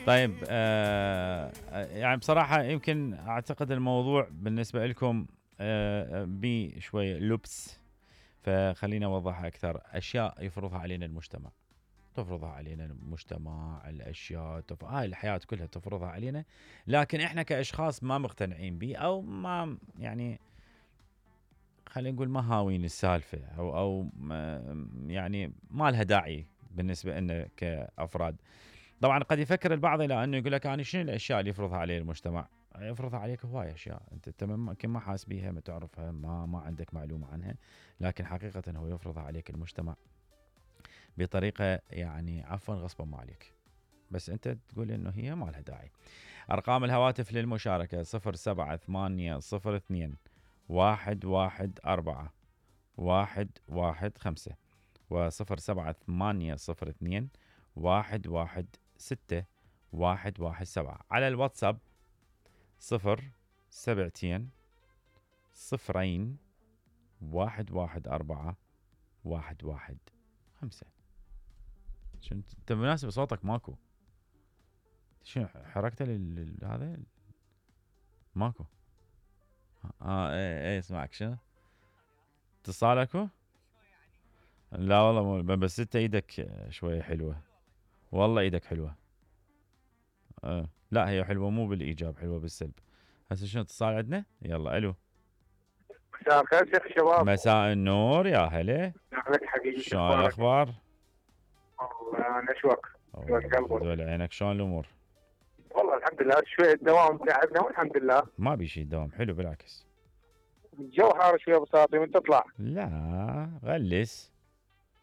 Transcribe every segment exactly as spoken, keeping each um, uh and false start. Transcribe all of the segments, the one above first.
طيب آه يعني بصراحة يمكن أعتقد الموضوع بالنسبة لكم آه بشوية لبس، فخلينا أوضحها أكثر. أشياء يفرضها علينا المجتمع، تفرضها علينا المجتمع، الأشياء تف... هاي الحياة كلها تفرضها علينا، لكن إحنا كأشخاص ما مقتنعين به أو ما يعني خلينا نقول ما هاوين السالفة أو أو ما يعني ما لها داعي بالنسبة لنا كأفراد. طبعا قد يفكر البعض الى انه يقول لك انا شنو الاشياء اللي يفرضها عليه المجتمع؟ يفرضها عليك هواي اشياء انت تمام يمكن ما حاس بيها، ما تعرفها، ما ما عندك معلومه عنها، لكن حقيقه هو يفرضها عليك المجتمع بطريقه يعني عفوا غصبا ما عليك، بس انت تقول انه هي ما لها داعي. ارقام الهواتف للمشاركه صفر سبعة ثمانية صفر اثنين واحد واحد أربعة واحد واحد خمسة وصفر سبعة ثمانية صفر اثنين واحد واحد ستة واحد واحد سبعة. على الواتساب صفر سبعتين صفرين واحد واحد أربعة واحد واحد خمسة. شنو انت مناسب صوتك ماكو؟ شنو حركته لل هذا ماكو؟ اه ايه ايه اسمعك شنو؟ اتصال اكو؟ لا والله مو بس انت ايدك شوية حلوة، والله ايدك حلوة. آه. لا هي حلوة مو بالايجاب، حلوة بالسلب. هسه شنو اتصال عندنا؟ يلا الو. مساء الخير شيخ شباب. مساء النور يا هلا. اهلك حبيبي، شلون الاخبار؟ والله نشوك دول عينك. شلون الامور؟ والله الحمد لله، شوية دوام تعبنا والحمد لله. ما بي شيء دوام، حلو بالعكس. الجو حار شوية بساطي وانت تطلع. لا غلس.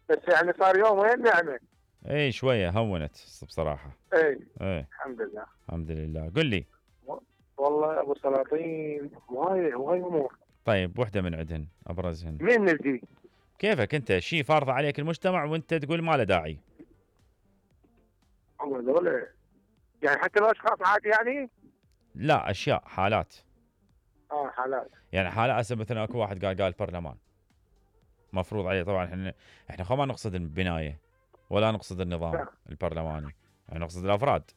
بس يعني صار يوم وين نعمة. اي شوية هونت بصراحة. اي اي الحمد لله. الحمد لله. قل لي. والله ابو سلاطين هواي هواي امور. طيب وحدة من عندهن ابرزهن. مين نبدي؟ كيفك انت؟ شيء فارض عليك المجتمع وانت تقول ما له داعي. والله ذولا يعني حتى لو اشخاص عادي يعني؟ لا اشياء حالات. اه حالات. يعني حالة هسه مثلا اكو واحد قال قال البرلمان مفروض عليه. طبعا احنا احنا خو ما نقصد البناية ولا نقصد النظام لا. البرلماني، يعني نقصد الافراد.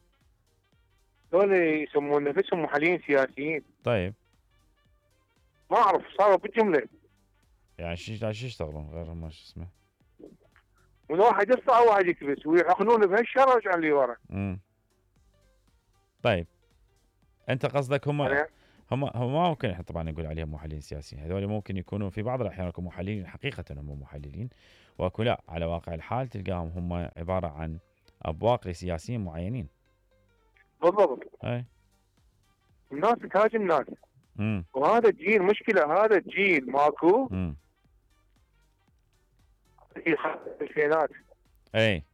ذولا يسمون نفسهم محللين سياسيين. طيب ما اعرف صاروا بالجملة. يعني شو شو يشتغلون غير ما شو اسمه؟ من واحد يصنع وواحد يكبس ويحقنون بهالشر ويرجعون اللي ورا. امم طيب انت قصدك هم هم هم ما ممكن احنا طبعا نقول عليهم محللين سياسيين، هذول ممكن يكونوا في بعض الاحيان يكونوا محللين حقيقه هم محللين، واكو لا على واقع الحال تلقاهم هم عباره عن ابواق لسياسيين معينين. بالضبط. اي الناس تهاجم الناس. امم وهذا الجيل مشكله، هذا الجيل ماكو. امم في الفينات. اي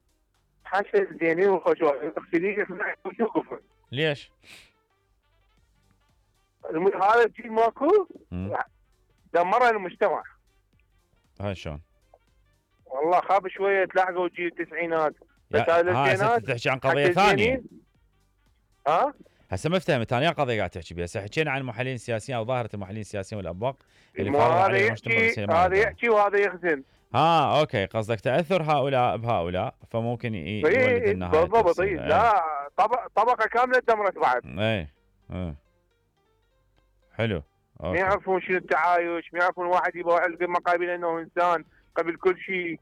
حاشا الزينين والخشوع تغسلين يوقفوا. ليش؟ هذا الجيل ماكو دمر المجتمع. هاي شلون؟ والله خاب شويه تلاحقوا جيل التسعينات. بس هذا الزينات تحكي عن قضيه ثانيه. ها؟ هسه ما فهمت ثانيه قضيه قاعد تحكي بها. هسه حكينا عن المحللين السياسيين او ظاهره المحللين السياسيين والابواق اللي فرضوا عليهم المجتمع. هذا يحكي وهذا يخزن. ها اوكي قصدك تاثر هؤلاء بهؤلاء فممكن يولد النهايه. بالضبط. لا طبق طبقه كامله دمرت بعد. اي اي حلو. ما يعرفون شنو التعايش، ما يعرفون واحد يبغى ما قابل انه انسان قبل كل شيء.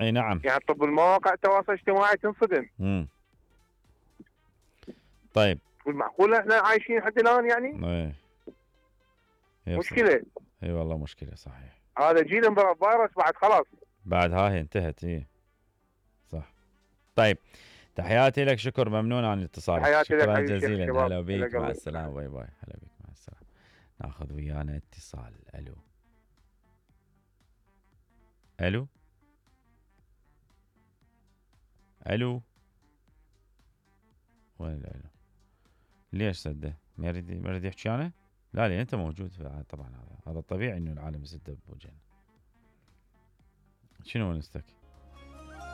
اي نعم. يعني طب المواقع التواصل الاجتماعي تنصدم. امم طيب والمعقول احنا عايشين لحد الان يعني؟ اي مشكله. اي والله مشكله صحيح. هذا جيل فيروس بعد خلاص. بعد هاي انتهت. اي صح. طيب تحياتي لك، شكر ممنون عن الاتصال. تحياتي لك شكرا جزيلا. هلا بيك مع السلامه. باي باي. هلا بيك مع السلامه. ناخذ ويانا اتصال. الو الو الو وين الو؟ ليش سده؟ ما يريد ما يريد يحكي انا؟ لا لي انت موجود طبعا. هذا هذا الطبيعي انه العالم يسد بوجهنا. شنو ونستك؟